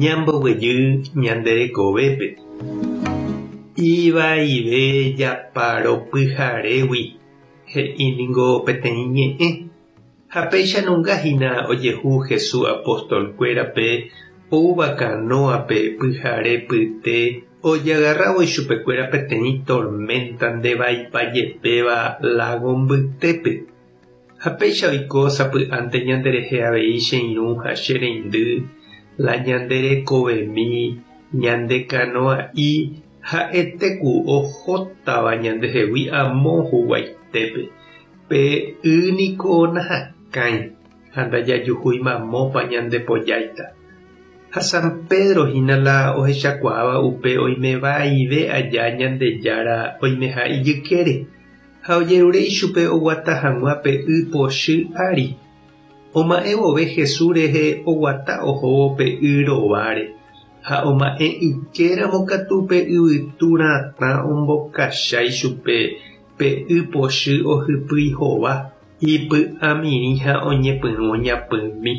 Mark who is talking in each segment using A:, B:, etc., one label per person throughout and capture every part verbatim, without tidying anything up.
A: Ñamboguejy ñande rekovépe. Ivaive japaro pyharégui he'íningo peteĩ ñe'ẽ. Ha péicha nungahína ojehu Jesús apostolkuérape oúva kanóape pyharepyte ojagarrávo ichupekuéra peteĩ tormenta ndevaipajepéva lago mbytépe. Ha péicha oiko sapy'ánte ñanderehe avei che irũ ha che reindy la ñande rekovemi ñande kanoa'i ha'etéku ohótava ñandehegui amo huguaitépe. Pe y niko nahakãi ha ndajajuhúi mamópa ñandepojáita. Ha San Pedro hína la ohechakuaáva upe oimevaive aja Ñandejára oimeha ijykére ha ojerure ichupe oguata hag̃ua pe y pochy ári. Oma'ẽ vove Jesús rehe oguata ohóvo pe y rováre ha oma'ẽ ykéramo katu pe yvytu ratã ombokacha ichupe pe y pochy ohypýi hova ipy'amirĩ ha oñepyrũ oñapymi.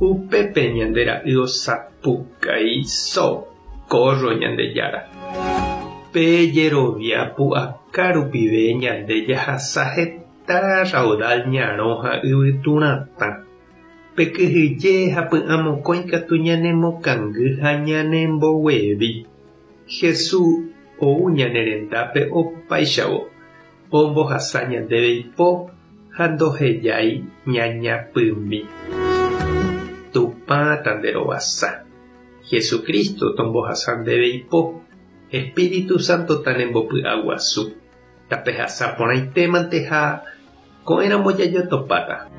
A: Upépe ñande ra'y osapukái ¡Socorro, Ñandejára! Pe jerovia pu'aka rupive ñande jahasa heta raudal ñarõ ha yvytu ratã. Pe kyhyje ha py'amokõi katu ñanemokangy ha ñanemboguevi. Jesús ou ñane rendápe opáichavo ombohasa ñandéve ipo ha ndohejái ñañapymi. Tupã tanderovasa. Jesucristo tombohasa ndéve ipo. Espíritu Santo tanembopy'aguasu. Tapehasa porãitémante ha ko'ẽramo jajotopáta.